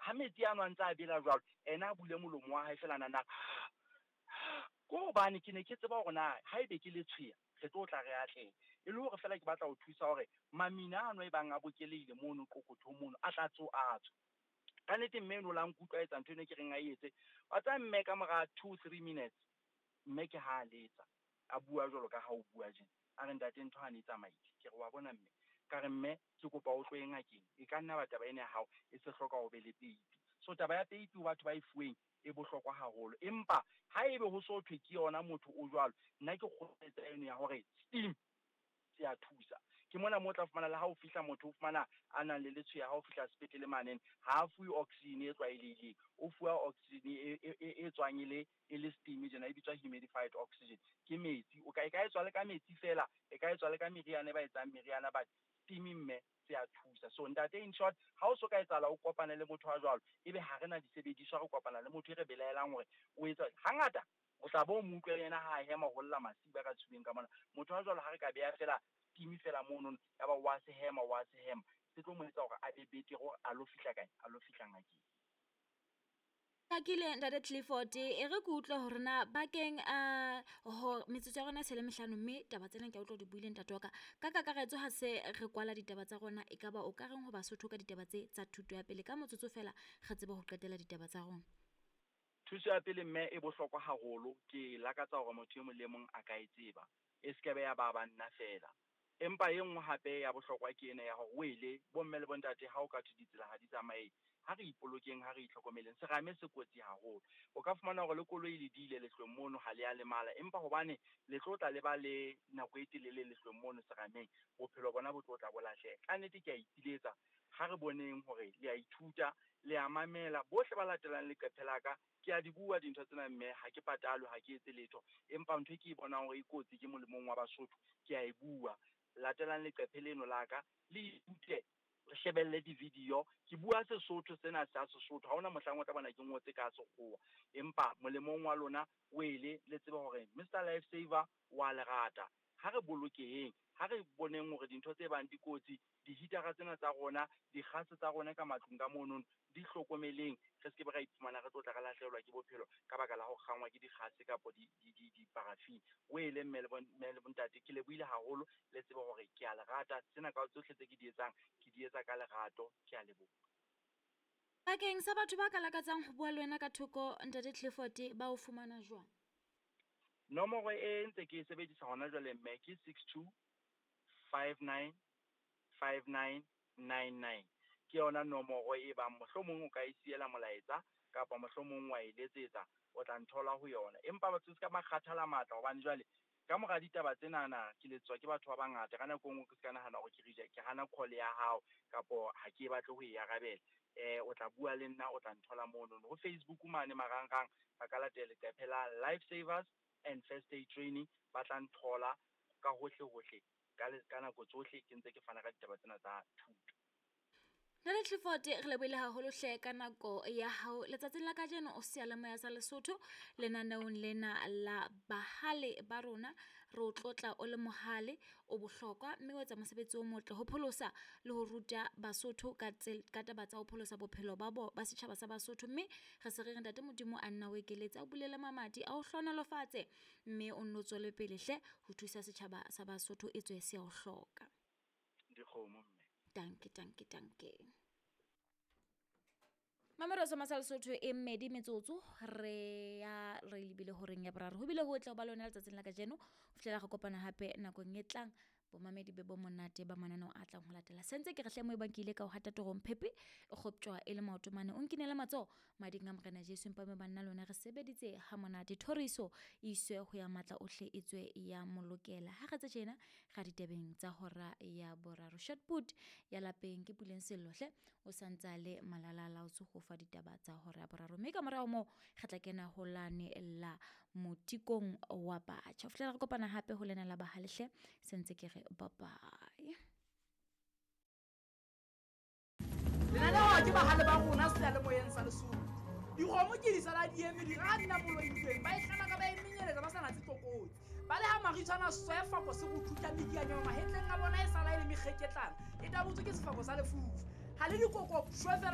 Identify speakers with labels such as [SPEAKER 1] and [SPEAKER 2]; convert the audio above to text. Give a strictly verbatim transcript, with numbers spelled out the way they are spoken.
[SPEAKER 1] Ha metsi ano a ntse a bela jwalo, ena a bule molomo wa hae fela nana. Ko hobane ke ne ke tseba hore na haebe ke letshweya re tlo tla re atleha. E le hore fela ke batla ho thusa hore mamina ano e bang a bokelehile mono qokothong mono a tla tso a tswa. Ka nnete mme eno la nkutlwa etsa ntho eno ke reng a etse. Wa tseba mme ka mora two three minutes mme ke ha a letsa a bua jwalo ka ha o bua tjena. A re ntate ntho ha ne tsamaile. Ke re wa bona mme, ka re mme ke kopa o tlohe ngakeng. E ka nna ba taba ena ya hao e se hloka ho be le peipi. So taba ya peipi ho batho ba e fuweng e bohlokwa haholo. Empa haebe ho so thwe ke yona motho o jwalo, nna ke kgothaletsa eno ya hore steam se a thusa. Ke mona mo tla fumana le ha o fihla motho o fumana a nang le letshweya ha o fihla sepetlele manene, ha a fuwe oxygen e tlwaelehileng, o fuwa oxygen e e e tswang e le e le steam tjena, e bitswa humidified oxygen. Ke metsi, o ka e ka etswa le ka metsi fela, e ka etswa le ka meriana e ba etsang meriana, but steam mme se a thusa. So ntate in short, ha o so ka etsahala o kopane le motho wa jwalo, ebe ha re na disebediswa, re kopana le motho e re belaelang hore o etsa hangata o tla bo mo utlwe yena ha hema ho lla masiba ka tshubeng ka mona. Motho wa jwalo ha re ka beha fela steam fela mono, ya ba wa se hema wa se hema, se tlo mo etsa hore a be betere hore a lo fihla kae, a lo fihla ngakeng.
[SPEAKER 2] Hlakile ntate Clifford, e re ke utlwe hore na bakeng a ho metsotso ya rona e se le mehlano, mme taba tsena ke a utlwa di buile ntate wa ka. Ka kakaretso ha se re kwala ditaba tsa rona, e ka ba o ka reng ho Basotho ka ditaba tse tsa thuto ya pele? Ka motsotso fela re tsebe ho qetela ditaba tsa rona.
[SPEAKER 1] Thuso ya pele mme e bohlokwa haholo, ke lakatsa hore motho e mong le mong a ka e tseba, e se ke be ya ba banna fela. Empa e nngwe hape ya bohlokwa ke ena ya hore wele bomme le bontate ha o ka thwe ditsela ha di tsamaye, ha re ipolokeng, ha re itlhokomeleng. Serame se kotsi haholo. O ka fumana hore le koloi le diile lehlweng mono ha le a lemala, empa hobane le tlo tla le ba le nako e telele lehlweng mono serameng, bophelo bona bo tlo tla bo lahleha. Ka nnete ke a ipiletsa, ha re boneng hore le a ithuta, le a mamela. Bohle ba latelang leqephe la ka, ke a di bua dintho tsena mme ha ke patalwe, ha ke etse letho, empa ntho e ke e bonang hore e kotsi ke molemong wa Basotho, ke a e bua. Latelang leqephe leno la ka, le ithute, re shebelle di-video. Ke bua Sesotho sena sa Sesotho, ha hona mohlang o tla bona ke ngotse ka Sekgowa, empa molemong wa lona wele le tsebe hore Mister Life Saver wa le rata. Ha re bolokeheng, ha re boneng hore dintho tse bang di kotsi, di-heatera tsena tsa rona, dikgase tsa rona ka matlung ka monono, di hlokomeleng, re se ke be ra iphumana re tlo tla re lahlehelwa ke bophelo ka baka la ho kgangwa ke dikgase kapo di-paraffin. Wele mme le bontate, ke lebohile haholo, le tsebe hore ke a le rata. Tsena ka tsohle tse ke di etsang, ke di etsa ka lerato. Ke a leboha.
[SPEAKER 2] Bakeng sa batho ba ka lakatsang ho bua le wena ka thoko, ntate Clifford, ba o fumana jwang?
[SPEAKER 1] Nomoro e ntse ke e sebedisa hona jwale mme ke six two five nine five nine nine nine. Ke yona nomoro e bang mohlomong o ka e siela molaetsa kapa mohlomong wa e letsetsa, o tla nthola ho yona. Empa batho se ka ba kgathala matla, hobane jwale ka mora ditaba tsenana ke letswa ke batho ba bangata. Ka nako e nngwe ke se ka nahana hore ke reject, ke hana call ya hao kapo ha ke batle ho e arabela. Eh, o tla bua le nna, o tla nthola mono. Ho Facebook mane marangrang ba ka latela leqephe la Life Savers and First Aid Training, ba tla nthola ka hohle hohle ka ka nako tsohle ke ntse ke fana ka ditaba tsena tsa thuto.
[SPEAKER 2] Ntate Clifford, re lebohile haholo hle ka nako ya hao letsatsing la kajeno. O seyalemoya sa Lesotho lenaneong lena la bahale ba rona, re o tlotla o le mohale o bohlokwa, mme o etsa mosebetsi o motle ho pholosa le ho ruta Basotho ka ka taba tsa ho pholosa bophelo ba bo ba setjhaba sa Basotho. Mme re se re re ntate Modimo a nna o ekeletse, a o bulele mamati, a o hlohonolofatse, mme o nno tswele pele hle ho thusa setjhaba sa Basotho e tswe se o hloka.
[SPEAKER 1] Dikgomo mme.
[SPEAKER 2] Danke, danke, danke. Mamelo sa Masal Sotho e mmedi metsotso re ya re lebile horeng ya boraro. Ho bile ho tla ba lona letsatsing la kajeno, ho fihlela re kopana hape nakong e tlang. Bomamedi be bo monate ba mananeo a tlang ho latela. Sentse ke re hle mo e bang ke ile ka ho hata torong phepe e kgoptjwa e le maoto mane. O nkinele matsoho mading a Morena Jesu, empa me banna lona re sebeditse ha monate. Thoriso e iswe ho ya matla ohle e tswe ya molokela. Ha re tse tjena ga ditebeng tsa hora ya boraro. Shotput ya lapeng ke Puleng Sellohle o santsa le Malala Laotse ho fa ditaba tsa hora ya boraro. Mme ka morao moo re tla kena ho lane la motikong wa batjha. Ho fihlela re kopana hape ho lena la bahalehle, sentse ke re bye bye.
[SPEAKER 3] Lenaneo ke bahale ba rona seyalemoyeng sa Lesotho. Dikgomo ke di sala di eme di ra nna moloitsweng, ba e hlana ka ba e menyeletsa ba sa natse tlokotsi. Ba le ha maritshwana sefako se go thutla mekianyana mahetleng a bona e sala e le mekgeketlana, e tabotswe ke sefako sa lefufa. Ha le dikoko shwe fela.